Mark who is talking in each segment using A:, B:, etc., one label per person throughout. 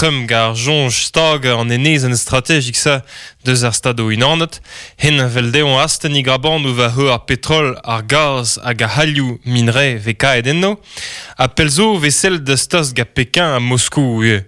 A: Trump gant ar soñj stagañ an enezenn strategik-se deus ar Stadoù-Unanet. Hen a fell dezhañ astenn e grabanoù war-c'horre ar petrol, ar gaz hag ar c'halioù minre 'vez kaet enno. Ha pell zo 'vez sellet deus tost gant Pekin ha Moskou ivez.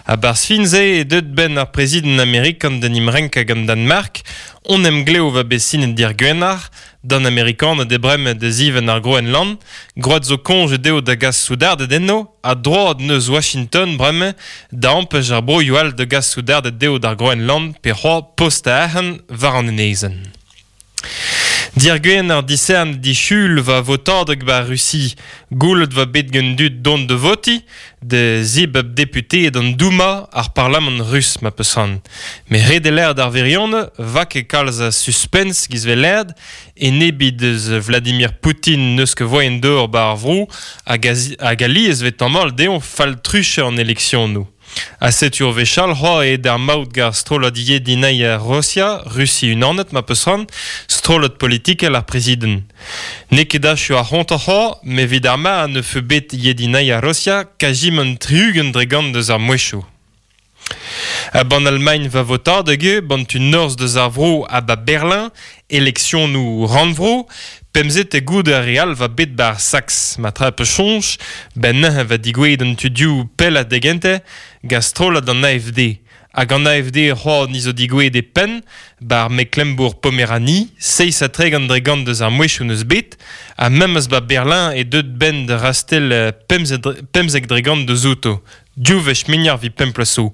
A: A-barzh fin-se eo deuet 'benn ar prezidant amerikan d'en em renkañ gant Danmark. Hon emglev 'va bet sinet dirgwener. D'an Amerikaned eo bremañ da zivenn ar Groenland. Gwraet zo koñje dezho da gas soudarded enno ha droad 'neus Washington bremañ da ampech ar broioù all da gas soudarded dezho d'ar Groenland pe c'hoazh postañ arc'hant war an enezenn. Dirgwener disern disul 'va votadeg 'ba Rusi. Goulet 'va bet gant dud dont da votiñ da zibab deputeed an Douma, ar parlamant rus ma peus c'hoant. Met ret eo lâret ar wirionez 'va ket kalz a suspens 'giz 'vez lâret, enebiñ deus Vladimir Poutin n'eus ket voaien d'ober 'ba ar vro hag hag alies 'vez tamallet dezhañ fall-truchañ an eleksionoù. Ha setu ur wech all c'hoazh eo d'ar maout gant ar strollad Yedinaya Rosia, Rusi unanet ma peus c'hoant, strollad politikel ar prezident. N'eo ket achu ar c'hontañ c'hoazh, met evit ar mare ne feu bet Yedinaya Rosia kazimant 60% deus ar mouezhioù. A-bann Almagn va votadeg eo, 'ban tu norzh deus ar vro ha 'ba Berlin, eleksionoù rannvro, pemzek goude ar re all 'va bet 'ba ar Saks. Ma tra 'peus soñj, 'benn neuze 'va digouezhet an tudioù pellañ da gentañ gant strollad an AFD. Hag an AFD c'hoazh ni zo digouezhet e penn 'ba ar Mecklembourg-Pomeranie, 37% deus ar mouezhioù 'neus bet, ha memes 'ba Berlin eo deuet 'benn da rastell 15% deus outo. Div wech muioc'h 'vit pemp bloaz zo.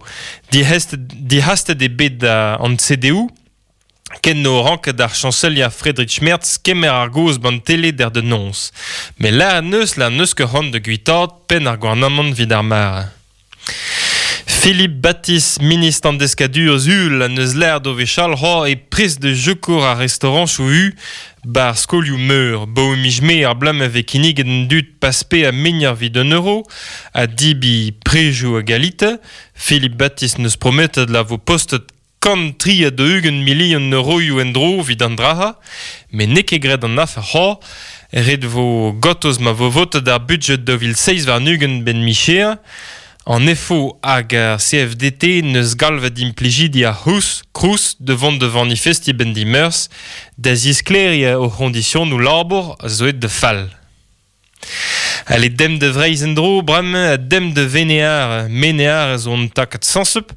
A: Dic'hastet eo bet an CDU ken n'o ranket ar chañselier Friedrich Merz kemer ar gaoz 'ban tele der da noz. Met lâret 'neus la n'eus ket c'hoant da guitaat penn ar gouarnamant 'vit ar mare. Philippe Baptiste, ministr an deskadurezh uhel, en deus lâret o wechall c'hoazh e prest da sekour ar restaorañchoù-u 'ba ar skolioù-meur. 'Baoe miz Mae ar bloaz ma vez kinniget an dud pas-paeañ muioc'h 'vit un euro ha debriñ prejoù a galite. Philippe Baptiste 'neus prometet la vo postet 143 milion euroioù en-dro evit an dra-se, met n'eo ket graet an afer c'hoazh. Ret 'vo gortoz ma vo votet ar budjed 2027 'benn micher. An EFO hag ar CFDT 'neus galvet implijidi ar C'hrous Crous da vont da vanifestiñ 'benn dimeurzh da zisklêriañ o c'hoñdisionoù labour a zo aet da fall. Ale demp da Vreizh en-dro bremañ ha demp da Venear. Menear a zo un takad sañsupl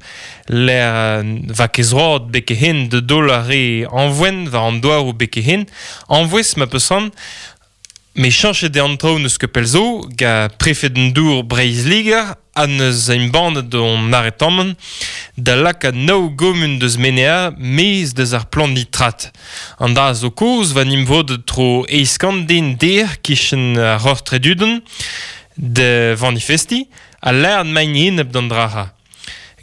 A: lec'h 'va ket zroad beke-hen da daol ar re añvoen war an douaroù beke-hen. Añvouez ma peus c'hoant. Met cheñchet eo an traoù n'eus ket pell zo gant prefed an dour Breizh-Liger ha 'neus embannet hon aretamant da lakaat nav gomun deus Menea maez deus ar plan nitrat. An dra zo kozh 'va 'n em vodet tro 800 den dec'h 'kichen ar Roc'h Treduden da vanifestiñ ha lâret 'maint enep d'an dra-se.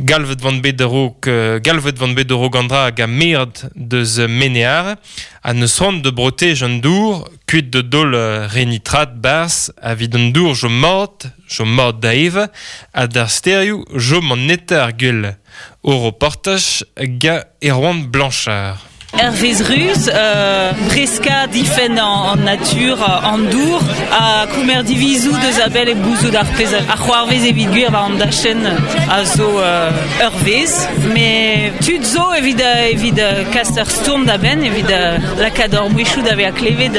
A: Galvet 'van bet a-raok galvet 'van bet a-raok an dra hag meret deus Menear ha 'neus c'hoant da brotej an dour kuit da daol re nitrat 'barzh evit an dour 'chom mat, chom mat da evañ ha d'ar stêrioù 'chom an netañ ar gwell. O reportaj gant Erwan Blanchard.
B: Hervez Ruz, breskañ difenn an natur, an dour, ha kemer divizoù deus a-bell hep gouzout ar pezh a c'hoarvez evit gwir war an dachenn a zo ur vezh. Met tud zo evit evit kas ur stourm da benn, evit lakaat hor mouezhioù da vezañ klevet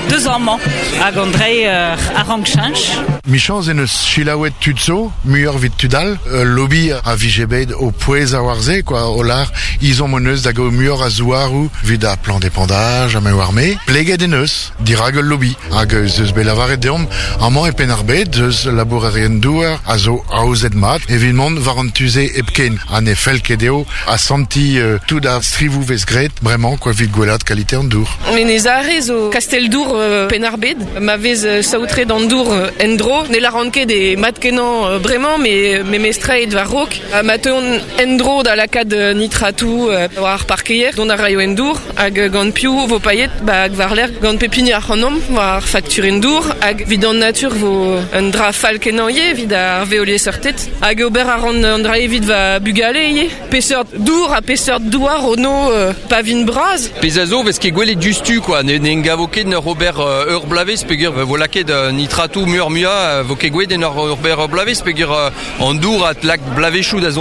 B: deus amañ hag an dreiñ a rank cheñch.
C: Michañs en deus selaouet tud zo, muioc'h evit tud all. Ul lobby a vije bet o pouezañ war se, quoi, o lâr ezhomm hon eus da gaout muioc'h a zouaroù evit ar plan d'épandage ha me oar me. Pleget en deus dirak ul lobby hag ez eus bet lavaret deomp amañ e Penn-ar-Bed eus labourerien-douar a zo aozet mat evit mont war an tu-se hepken ha ne fell ket dezho asantiñ tout ar strivoù 'vez graet bremañ quoi evit gwellaat kalite an dour.
D: Menez Are zo kastell-dour Penn-ar-Bed. Ma vez saotret an dour en-dro, ne lâran ket eo mat-kenañ bremañ, met memestra aet war-raok. Ma teuont en-dro da lakaat nitratoù war ar parkeier, dont a raio en dour, hag gant piv vo paeet? Ba war-lerc'h gant pep hini ac'hanomp war ar fakturenn dour, hag evit an natur vo un dra fall-kenañ ivez evit ar veoliesseurted. Hag ober a ran an dra evit va bugale ivez. Peseurt dour ha peseurt douar ono pa vin bras?
E: Pezh a zo 'vez ket gwelet diouzhtu quoi, ne en gavo ket 'n ur ober ur bloavezh peogwir vo lakaet nitratoù muioc'h-muiañ, vo ket gwelet en ur ober ur bloavezh peogwir an dour a lak bloavezhioù da zont.